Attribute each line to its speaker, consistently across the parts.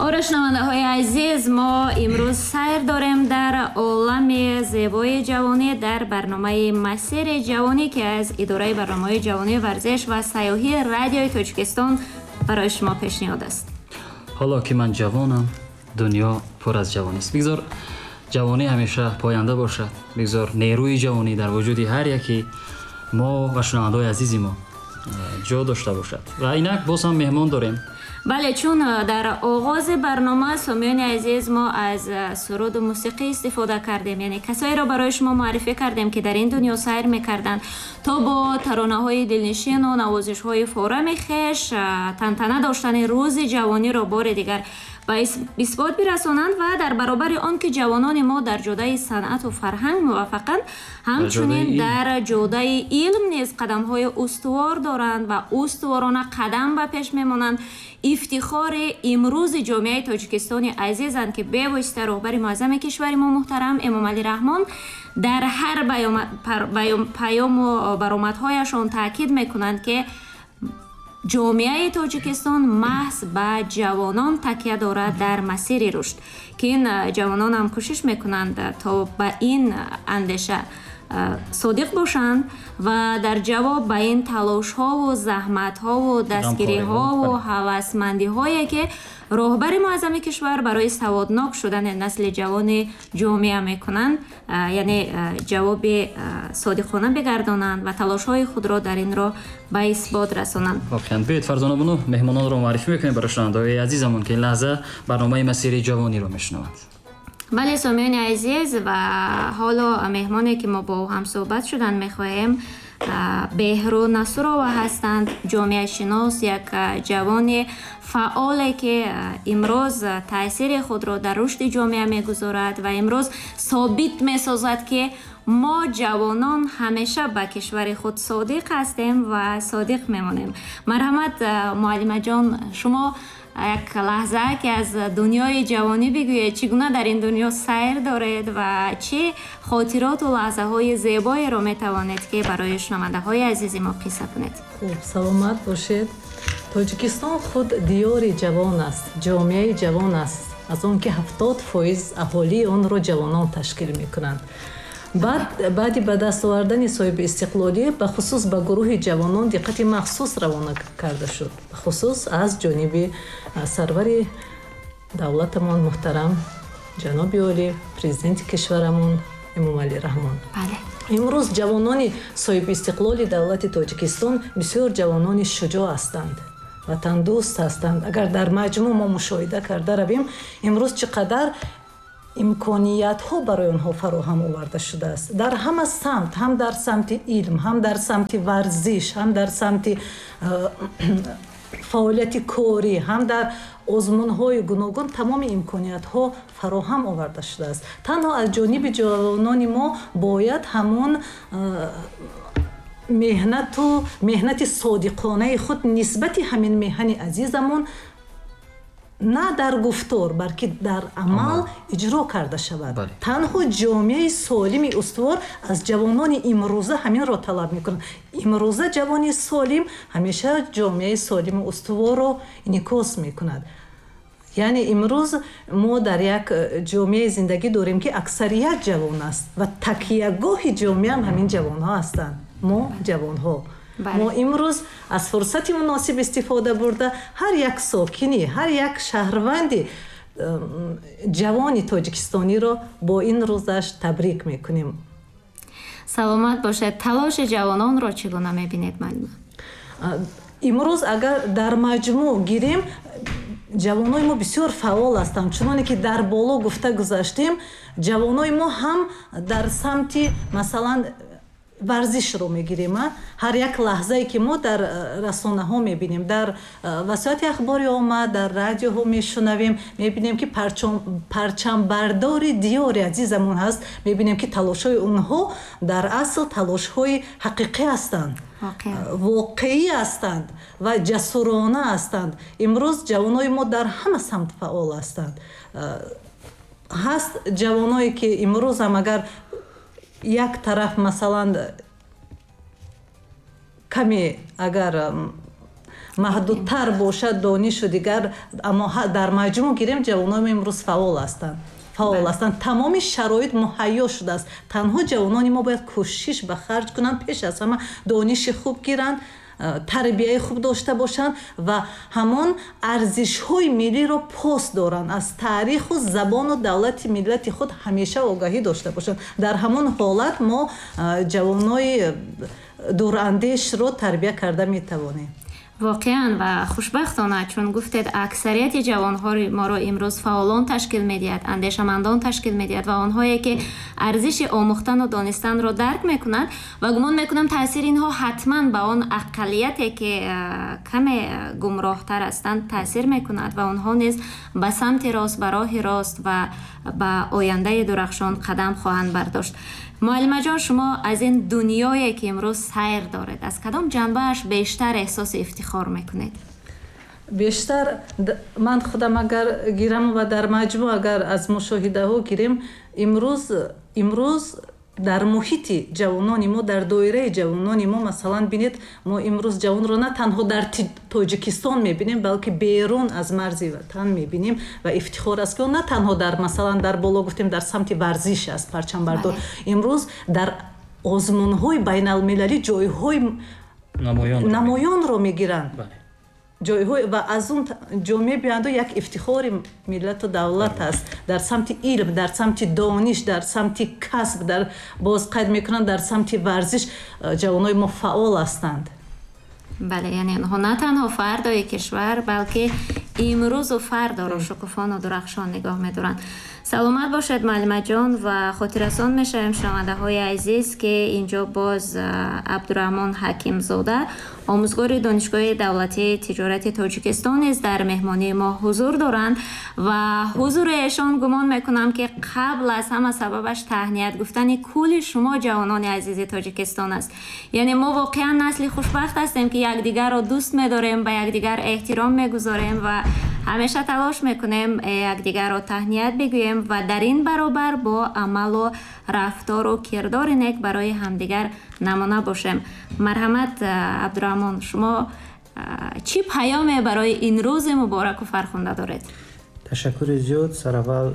Speaker 1: Оре, шунавандаҳои азиз, мо имрӯз сайр дорем дар олами зебои ҷавонӣ дар барномаи «Масири ҷавонӣ», ки аз идораи барномаҳои ҷавонӣ, варзиш ва сайёҳии Радиои Тоҷикистон барои шумо пешниҳод аст.
Speaker 2: Ҳоло ки ман ҷавонам, дунё пур аз ҷавонист. Бигзор ҷавонӣ ҳамеша поянда бошад, бигзор нерӯи ҷавонӣ дар вуҷуди ҳар яке мо ва шунавандаҳои азизи мо ҷо дошта бошад. Ва инак боз ҳам меҳмон дорем.
Speaker 1: Бале, чун дар оғози барнома, сомиёни азиз, мо аз суруду мусиқӣ истифода кардем, яъне касоеро барои шумо муаррифӣ кардем, ки дар ин дунё сайр мекарданд, то бо таронаҳои дилнишину навозишҳои форами хеш тантана доштани рӯзи ҷавониро бори дигар ба исбот бирасонанд. Ва дар баробари он ки ҷавонони мо дар ҷодаи санъату фарҳанг муваффақанд, ҳамчунин дар ҷодаи илм низ қадамҳои устувор доранд ва устуворона қадам ба пеш мемонанд. Ифтихори имрӯзи ҷомеаи тоҷикистони азизанд, ки бевосита роҳбари муаззами кишвари мо муҳтарам Эмомалӣ Раҳмон дар ҳар паёму баромадҳояшон таъкид мекунанд, ки ҷомеаи Тоҷикистон маҳз ба ҷавонон такя дорад дар масири рушд, ки ин ҷавононам кӯшиш мекунанд, то ба ин андеша содиқ бошанд ва дар ҷавоб ба ин талошҳову заҳматҳову дастгириҳову ҳавасмандиҳое, ки роҳбари муаззами кишвар барои саводнок шудани насли ҷавони ҷомеа мекунанд, яъне ҷавоби содиқона бигардонанд ва талошҳои худро дар ин роҳ ба исбот расонанд.
Speaker 2: Воқеан, биёед, Фарзона бону, меҳмононро муаррифӣ мекунем барои шунавандаҳои азизамон, ки ин лаҳза барномаи «Масири ҷавониро» мешунаванд.
Speaker 1: Бале, сомиёни азиз, ва ҳоло меҳмоне, ки мо бо ӯ ҳамсӯҳбат шудан мехоҳем, Беҳрӯ Насурова ҳастанд, ҷомеашинос, як ҷавони фаъоле, ки имрӯз таъсири худро дар рушди ҷомеа мегузорад ва имрӯз собит месозад, ки мо ҷавонон ҳамеша ба кишвари худ содиқ ҳастем ва содиқ мемонем. Марҳамат, муаллимаҷон, шумо як лаҳза ки аз дунёи ҷавонӣ бигӯед, чӣ гуна дар ин дунё сайр доред ва чӣ хотироту лаҳзаҳои зебоеро метавонед, ки барои шунавандаҳои азизи мо қисса кунед?
Speaker 3: Хуб, саломат бошед. Тоҷикистон худ диёри ҷавон аст, ҷомеаи ҷавон аст, аз он ки 70% аҳолии онро ҷавонон ташкил мекунанд. Баъди ба даст овардани соҳиби истиқлолӣ, бахусус ба гурӯҳи ҷавонон диққати махсус равона карда шуд, бахусус аз ҷониби сарвари давлатамон муҳтарам ҷаноби олӣ, президенти кишварамон Эмомалӣ Раҳмон. Имрӯз ҷавонони соҳиби истиқлоли давлати Тоҷикистон бисёр ҷавонони шуҷоъ ҳастанд, ватандӯст ҳастанд. Агар дар маҷмӯъ мо мушоҳида карда равем, имрӯз чӣ қадар имкониятҳо барои онҳо фароҳам оварда шудааст дар ҳама самт, ҳам дар самти илм, ҳам дар самти варзиш, ҳам дар самти фаъолияти корӣ, ҳам дар озмунҳои гуногун тамоми имкониятҳо фароҳам оварда шудааст. Танҳо аз ҷониби ҷавонони мо бояд ҳамон меҳнату меҳнати содиқонаи худ нисбати ҳамин меҳани азизамон на дар гуфтор, балки дар амал иҷро карда шавад. Танҳо ҷомеаи солими устувор аз ҷавонони имрӯза ҳаминро талаб мекунад. Имрӯза ҷавони солим ҳамеша ҷомеаи солиму устуворро инъикос мекунад. Яъне имрӯз мо дар як ҷомеаи зиндагӣ дорем, ки аксарият ҷавон аст ва такиягоҳи ҷомеаам ҳамин ҷавонҳо ҳастанд. Мо ҷавонҳо, мо имрӯз аз фурсати муносиб истифода бурда, ҳар як сокини, ҳар як шаҳрванди ҷавони тоҷикистониро бо ин рӯзаш табрик мекунем.
Speaker 1: Саломат бошед. Талоши ҷавононро чӣ гуна мебинед, муаллима?
Speaker 3: Имрӯз агар дар маҷмӯъ гирем, ҷавонои мо бисёр фаъол ҳастанд. Чуноне ки дар боло гуфта гузаштем, ҷавонои мо ҳам дар самти, масалан, варзишро мегирем, ҳар як лаҳзае ки мо дар расонаҳо мебинем, дар васоити ахбори омма, дар радиоҳо мешунавем, мебинем, ки парчамбардори диёри азизамон ҳаст, мебинем, ки талошҳои онҳо дар асл талошҳои ҳақиқӣ ҳастанд, воқеӣ ҳастанд ва ҷасурона ҳастанд. Имрӯз ҷавонои мо дар ҳама самт фаъол ҳастанд. Ҳаст ҷавоное, ки имрӯзам агар як тараф, масалан, каме агар Маҳдудтар бошад донишу дигар, аммо дар маҷмӯъ гирем, ҷавонони имрӯз фаъол ҳастанд. Фаъол ҳастанд, тамоми шароит муҳайё шудааст. Танҳо ҷавонони мо бояд кӯшиш ба харҷ кунанд, пеш аз ҳама дониши хуб гиранд, тарбияи хуб дошта бошанд ва ҳамон арзишҳои миллиро пос доранд, аз таъриху забону давлати миллати худ ҳамеша огаҳӣ дошта бошанд. Дар ҳамон ҳолат мо ҷавонои дурандешро тарбия карда метавонем.
Speaker 1: Воқеан ва хушбахтона, чун гуфтед, аксарияти ҷавонҳои моро имрӯз фаъолон ташкил медиҳад, андешамандон ташкил медиҳад ва онҳое ки арзиши омӯхтану донистанро дарк мекунанд, ва гумон мекунам таъсири инҳо ҳатман ба он ақаллияте ки каме гумроҳтар ҳастанд таъсир мекунад ва онҳо низ ба самти рост, ба роҳи рост ва ба ояндаи дурахшон қадам хоҳанд бардошт. Муаллимаҷон, шумо аз ин дунёе ки имрӯз сайр доред, аз кадом ҷанбааш бештар эҳсоси ифтихор мекунед?
Speaker 3: Бештар ман худам агар гирам ва дар маҷмӯъ агар аз мушоҳидаҳо гирем, имрӯз дар муҳити ҷавонони мо, дар доираи ҷавонони мо, масалан бинед, мо имрӯз ҷавонро на танҳо дар Тоҷикистон мебинем, балки берун аз марзи ватан мебинем ва ифтихор аст, ки на танҳо дар, масалан, дар боло гуфтем, дар самти варзиш аст парчамбардор, имрӯз дар озмунҳои байналмилалӣ ҷойҳои намоёнро мегиранд, ҷойҳои ва аз он ҷо мебиёнду як ифтихори миллату давлат аст дар самти илм, дар самти дониш, дар самти касб, дар боз қайд мекунанд, дар самти варзиш ҷавонои мо фаъол ҳастанд.
Speaker 1: Бале, яъне онҳо на танҳо фардои кишвар, балки имрӯзу фардоро шукуфону дурахшон нигоҳ медоранд. Саломат бошед, муаллимаҷон, ва хотиррасон мешавем, шунавандаҳои азиз, ки инҷо боз Абдураҳмон Ҳакимзода, омӯзгори Донишгоҳи давлатии тиҷорати Тоҷикистон низ дар меҳмонии мо ҳузур доранд ва ҳузури эшон гумон мекунам, ки қабл аз ҳама сабабаш таҳният гуфтани кулли шумо ҷавонони азизи Тоҷикистон аст. Яъне мо воқеан насли хушбахт ҳастем, ки якдигарро дӯст медорем, ба якдигар эҳтиром мегузорем ва ҳамеша талош мекунем якдигарро таҳният бигӯем ва дар ин баробар бо амалу рафтору кирдори нек барои ҳамдигар намуна бошем. Марҳамат, Абдураҳмон, шумо чӣ паёме барои ин рӯзи мубораку фархунда доред?
Speaker 4: Ташаккури зиёд. Сараввал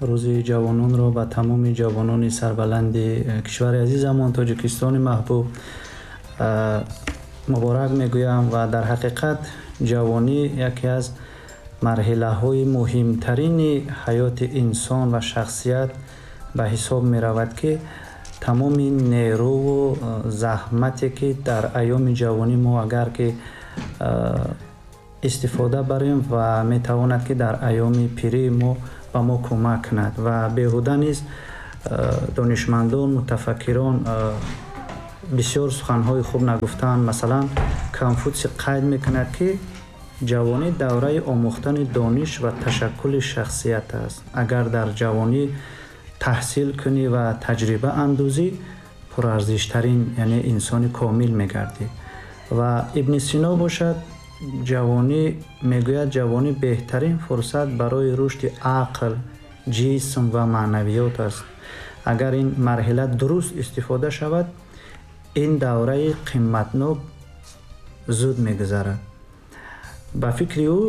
Speaker 4: рӯзи ҷавононро ба тамоми ҷавонони сарбаланди кишвари азизамон Тоҷикистони маҳбуб муборак мегӯям ва дар ҳақиқат ҷавонӣ яке аз марҳилаҳои муҳимтарини ҳаёти инсон ва шахсият ба ҳисоб меравад, ки тамоми нерӯву заҳмате ки дар айёми ҷавонӣ мо агар ки истифода барем ва метавонад ки дар айёми пирии мо ба мо кӯмак кунад. Ва беҳуда низ донишмандон, мутафаккирон бисёр суханҳои хуб нагуфтаанд. Масалан, Конфутсий қайд мекунад, ки ҷавонӣ давраи омӯхтани дониш ва ташаккули шахсият аст. Агар дар ҷавонӣ таҳсил кунӣ ва таҷриба андӯзӣ, пурарзиштарин, яъне инсони комил мегардӣ. Ва Ибни Сино бошад, ҷавонӣ мегӯяд, ҷавонӣ беҳтарин фурсат барои рушди ақл, ҷисм ва маънавиёт аст. Агар ин марҳила дуруст истифода шавад, ин давраи қиматнок зуд мегузарад. Ба фикри ӯ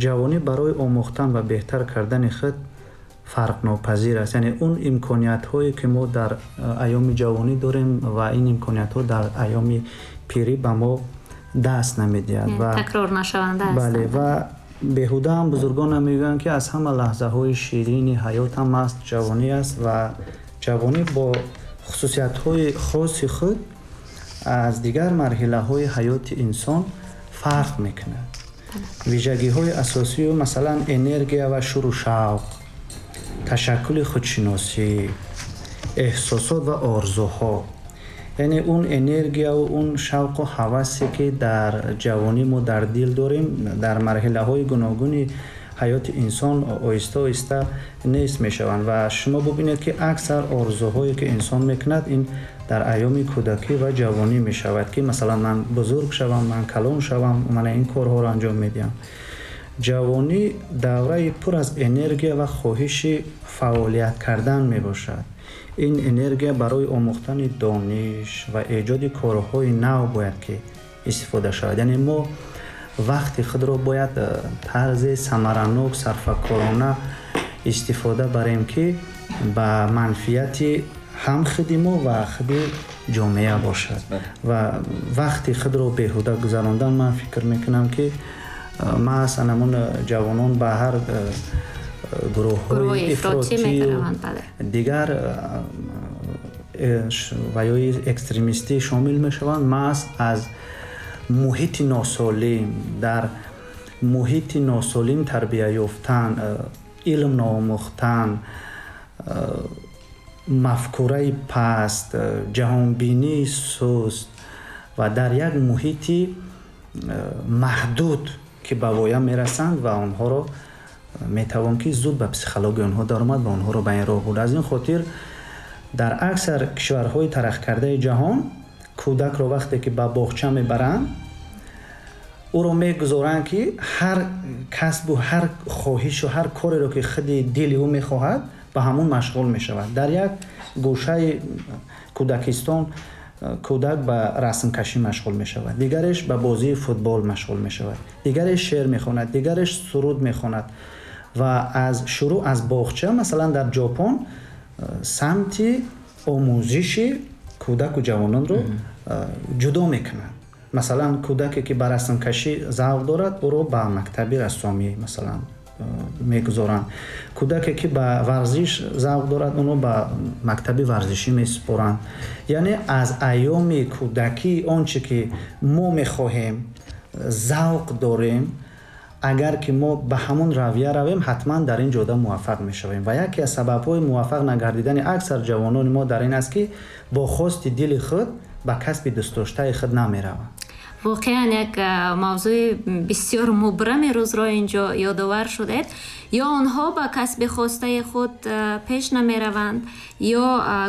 Speaker 4: ҷавонӣ барои омӯхтан ва беҳтар кардани худ фарқнопазир аст. Яъне он имкониятҳое ки мо дар айёми ҷавонӣ дорем ва ин имкониятҳо дар айёми пирӣ ба мо даст намедиҳад ва
Speaker 1: такрор нашаванда ҳастанд.
Speaker 4: Бале, ва беҳуда ҳам бузургон мегӯянд, ки аз ҳама лаҳзаҳои ширини ҳаёт ҳам аст ҷавонӣ аст ва ҷавонӣ бо хусусиятҳои хоси худ аз дигар марҳилаҳои ҳаёти инсон фарқ мекунад. Вижагиҳои асосию масалан энергия ва шуру шавқ, ташаккули худшиносӣ, эҳсосот ва орзуҳо. Яъне он энергияву он шавқу ҳавасе ки дар ҷавонӣ мо дар дил дорем, дар марҳилаҳои гуногуни ҳаёти инсон оҳиста оҳиста нест мешаванд. Ва шумо бубинед, ки аксар орзуҳое ки инсон мекунад, ин дар айёми кӯдакӣ ва ҷавонӣ мешавад, ки масалан ман бузург шавам, ман калон шавам, ман ин корҳоро анҷом медиҳам. Ҷавонӣ давраи пур аз энергия ва хоҳиши фаъолият кардан мебошад. Ин энергия барои омӯхтани дониш ва эҷоди корҳои нав бояд ки истифода шавад. Яъне мо Вақти худро бояд тарзи самаранок, сарфакорона истифода барем, ки ба манфиати ҳам худи мо ва худи ҷомеа бошад. Ва вақти худро беҳуда гузарондан, ман фикр мекунам, ки маҳз анамон ҷавонон ба ҳар гурӯҳҳои ифротию дигар ва ёи экстремистӣ шомил мешаванд, маҳз аз муҳити носолим, дар муҳити носолим тарбия ёфтан, илм наомӯхтан, мафкураи паст, ҷаҳонбинии суст ва дар як муҳити маҳдуд, ки ба воя мерасанд ва онҳоро метавон ки зуд ба психологияи онҳо даромад ва онҳоро ба ин роҳ бурд. Аз ин хотир дар аксар кишварҳои тараққикардаи ҷаҳон кӯдакро вақте ки ба боғча мебаранд, ӯро мегузоранд, ки ҳар касбу ҳар хоҳишу ҳар кореро, ки худи дили ӯ мехоҳад, ба ҳамон машғул мешавад. Дар як гӯшаи кӯдакистон кӯдак ба расмкашӣ машғул мешавад, дигареш ба бозии футбол машғул мешавад, дигареш шеър мехонад, дигареш суруд мехонад. Ва аз шурӯъ аз боғча, масалан, дар Ҷопон самти омӯзиши кӯдаку ҷавононро ҷудо мекунанд. Масалан, кӯдаке, ки ба расмкашӣ завқ дорад, ӯро ба мактаби рассомӣ, масалан, мегузоранд. Кӯдаке, ки ба варзиш завқ дорад, онро ба мактаби варзишӣ месупоранд. Яъне аз айёми кӯдакӣ он чӣ ки мо мехоҳем, завқ дорем, агар ки мо ба ҳамон равия равем, ҳатман дар ин ҷода муваффақ мешавем. Ва яке аз сабабҳои муваффақ нагардидани аксар ҷавонони мо дар ин аст, ки бо хости дили худ ба касби дӯстдоштаи худ намераванд.
Speaker 1: Воқеан, як мавзӯи бисёр мубрами рӯзро инҷо ёдовар шудед. Ё онҳо ба касби хостаи худ пеш намераванд, ё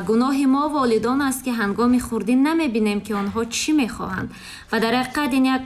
Speaker 1: гуноҳи мо волидон аст, ки ҳангоми хурдӣ намебинем, ки онҳо чӣ мехоҳанд. Ва дар ҳақиқат ин як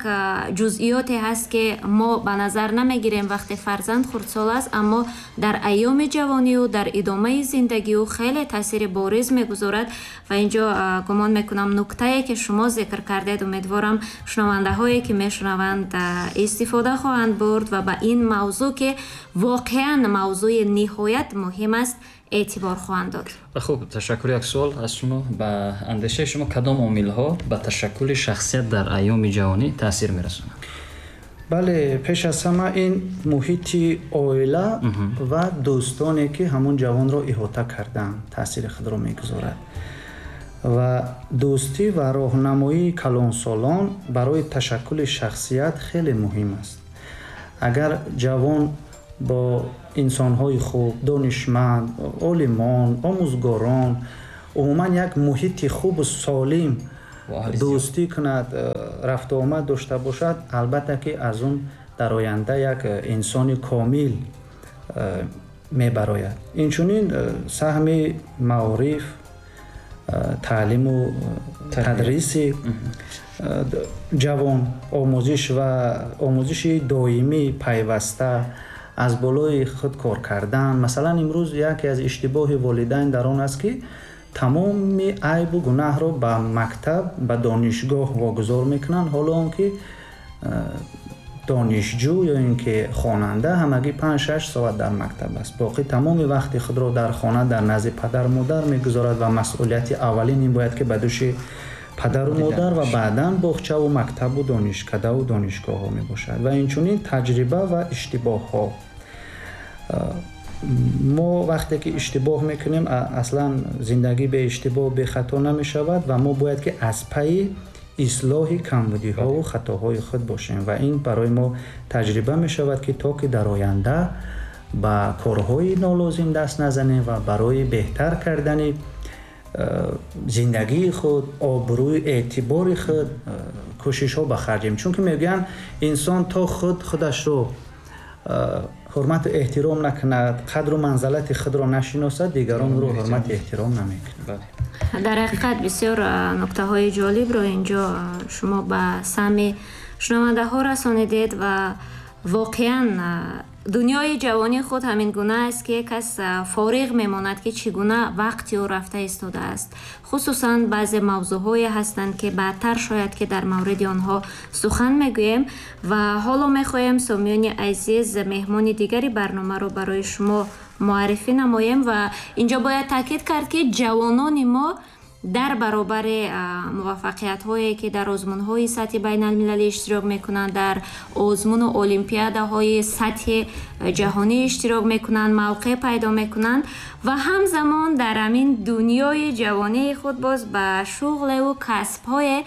Speaker 1: ҷузъиёте ҳаст, ки мо ба назар намегирем, вақте фарзанд хурдсол аст, аммо дар айёми ҷавонию дар идомаи зиндагиу хеле таъсири бориз мегузорад. Ва инҷо гумон мекунам, нуктае, ки шумо зикр кардед, умедворам, шунавандаҳое, ки мешунаванд, истифода хоҳанд бурд ва ба ин мавзӯъ, ки воқеан мавзӯи ниҳоят муҳим аст, эътибор хоҳанд дод.
Speaker 2: Хуб, ташаккур. Як суол аз шумо: ба андешаи шумо, кадом омилҳо ба ташаккули шахсият дар айёми ҷавонӣ таъсир мерасонанд?
Speaker 4: Бале, пеш аз ҳама ин муҳити оила ва дӯстоне, ки ҳамон ҷавонро иҳота кардаанд, таъсири худро мегузорад. Ва дӯстӣ ва роҳнамоии калонсолон барои ташаккули шахсият хеле муҳим аст. Агар ҷавон бо инсонҳои хуб, донишманд, олимон, омӯзгорон, умуман як муҳити хубу солим дӯстӣ кунад, рафтуомад дошта бошад, албатта ки аз он дар оянда як инсони комил мебарояд. Инчунин саҳми маориф, таълиму тадриси ҷавон, омӯзиш ва омӯзиши доимӣ, пайваста аз болои худ кор кардан. Масалан, имрӯз яке аз иштибоҳи волидайн дар он аст, ки тамоми айбу гунаҳро ба мактаб, ба донишгоҳ вогузор мекунанд, ҳоло он ки донишҷӯ ё ин ки хонанда ҳамагӣ 5-6 соат дар мактаб аст, боқӣ тамоми вақти худро дар хона, дар назди падару модар мегузорад. Ва масъулияти аввалин ин бояд ки ба дӯши падару модар ва баъдан боғчаву мактабу донишкадаву донишгоҳҳо мебошад. Ва инчунин таҷриба ва иштибоҳҳо. Мо вақте ки иштибоҳ мекунем, аслан зиндагӣ бе иштибоҳ, бехато намешавад ва мо бояд ки аз пайи ислоҳи камбудиҳову хатоҳои худ бошем. Ва ин барои мо таҷриба мешавад, ки то ки дар оянда ба корҳои нолозим даст назанем ва барои беҳтар кардани зиндагии худ, обрӯи, эътибори худ кӯшишҳо ба харҷем. Чунки мегӯянд, инсон то худ худашро ҳурмату эҳтиром накунад, қадру манзалати худро нашиносад, дигарон ӯро ҳурмату эҳтиром намекунад.
Speaker 1: Дар ҳақиқат, бисёр нуктаҳои ҷолибро инҷо шумо ба самъи шунавандаҳо расонидед ва воқеан Дунёи ҷавонии худ ҳамин гуна аст, ки кас фориғ мемонад, ки чӣ гуна вақти ӯ рафта истодааст. Хусусан баъзе мавзӯъҳое ҳастанд, ки баъдтар шояд ки дар мавриди онҳо сухан мегӯем. Ва ҳоло мехоҳем, сомиёни азиз, меҳмони дигари барномаро барои шумо муаррифӣ намоем. Ва инҷо бояд таъкид кард, ки ҷавонони мо дар баробари муваффақиятҳое, ки дар озмунҳои сатҳи байналмилалӣ иштирок мекунанд, дар озмуну олимпиадаҳои сатҳи ҷаҳонӣ иштирок мекунанд, мавқеъ пайдо мекунанд ва ҳамзамон дар ҳамин дунёи ҷавонии худ боз ба шуғлеву касбҳое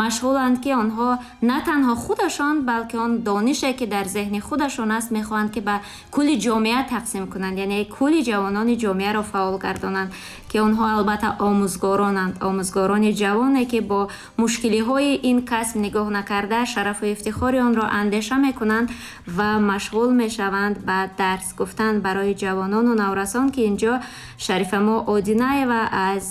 Speaker 1: машғуланд, ки онҳо на танҳо худашон, балки он донише, ки дар зеҳни худашон аст, мехоҳанд, ки ба кулли ҷомеа тақсим кунанд, яъне кулли ҷавонони ҷомеаро фаъол гардонанд, ки онҳо албатта омӯзгоронанд, омӯзгорони ҷавоне, ки бо мушкилиҳои ин касб нигоҳ накарда, шарафу ифтихори онро андеша мекунанд ва машғул мешаванд ба дарс гуфтан барои ҷавонону наврасон, ки инҷо Шарифамо Одинаева аз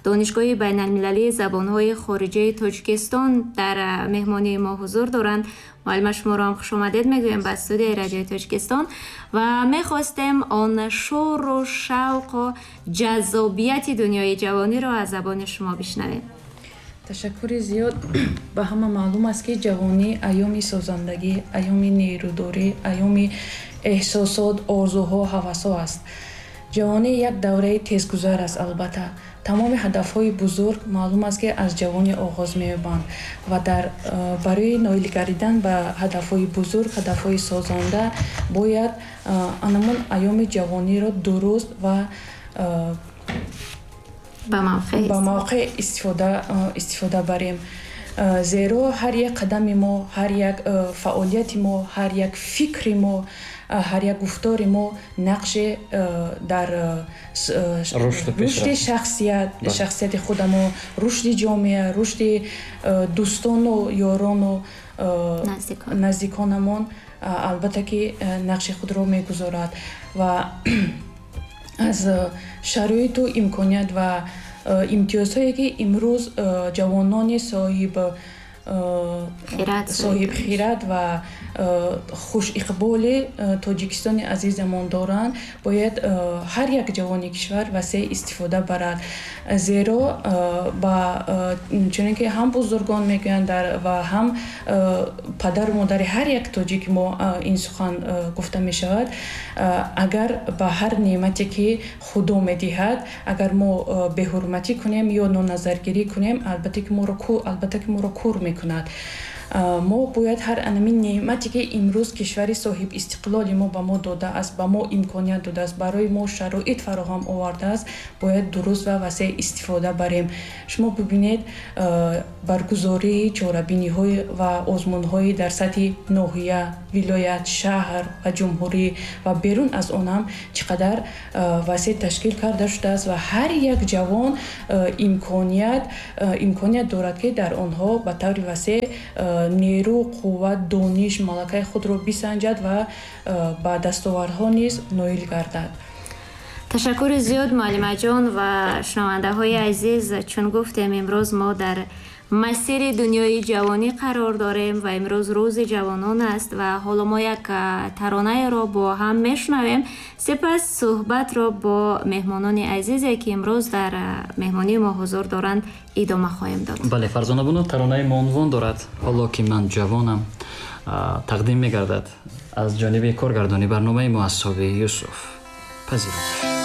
Speaker 1: Донишгоҳи байналмилалии забонҳои хориҷаи Тоҷикистон дар меҳмонии мо ҳузур доранд. Муаллима, шуморо ҳам хушомадед мегӯем ба студияи Радиои Тоҷикистон ва мехостем он шӯру шавқу ҷаззобияти дунёи ҷавониро аз забони шумо бишнавем.
Speaker 5: Ташаккури зиёд. Ба ҳама маълум аст, ки ҷавонӣ айёми созандагӣ, айёми нерӯдорӣ, айёми эҳсосот, орзуҳо, ҳавасҳо аст. Ҷавонӣ як давраи тезгузар аст. Албатта, тамоми ҳадафҳои бузург, маълум аст, ки аз ҷавонӣ оғоз меёбанд ва дар барои ноил гардидан ба ҳадафҳои бузург, ҳадафҳои созанда бояд анамон айёми ҷавониро дуруст ва ба мавқеъ истифода барем, зеро ҳар як қадами мо, ҳар як фаъолияти мо, ҳар як фикри мо, ҳар як гуфтори мо нақше дар рушди шахсияти худамо, рушди ҷомеа, рушди дӯстону ёрону наздиконамон, албатта ки, нақши худро мегузорад. Ва аз шароиту имконият ва имтиёзҳое, ки имрӯз ҷавонони соҳибхирад ва хушиқболи Тоҷикистони азизамон доранд, бояд ҳар як ҷавони кишвар васеъ истифода барад, зеро ба чунин ки ҳам бузургон мегӯянд ва ҳам падару модари ҳар як тоҷики мо ин сухан гуфта мешавад: агар ба ҳар неъмате, ки Худо медиҳад, агар мо беҳурматӣ кунем ё ноназаргирӣ кунем, албатта ки моро кур мекунад. Мо бояд ҳар анамин неъмате, ки имрӯз кишвари соҳибистиқлоли мо ба мо додааст, ба мо имконият додааст, барои мо шароит фароҳам овардааст, бояд дуруст ва васеъ истифода барем. Шумо бибинед, баргузории чорабиниҳои ва озмунҳои дар сатҳи ноҳия, вилоят, шаҳр ва ҷумҳурӣ ва берун аз он ҳам чӣ қадар васеъ ташкил карда шудааст ва ҳар як ҷавон имконият дорад, ки дар онҳо ба таври васеъ нерӯ, қувват, дониш, малакаи худро бисанҷад ва ба дастовардҳо низ ноил гардад.
Speaker 1: Ташаккури зиёд, муаллимаҷон. Ва шунавандаҳои азиз, чун гуфтем, имрӯз мо дар масири дунёи ҷавонӣ қарор дорем ва имрӯз рӯзи ҷавонон аст. Ва ҳоло мо як таронаеро бо ҳам мешунавем, сипас суҳбатро бо меҳмонони азизе, ки имрӯз дар меҳмонии мо ҳузур доранд, идома хоҳем дод.
Speaker 2: Бале, Фарзона бону, таронаи мо унвон дорад «Ҳоло ки ман ҷавонам», тақдим мегардад аз ҷониби коргардони барномаи мо Асҳоби Юсуф. Пазиро.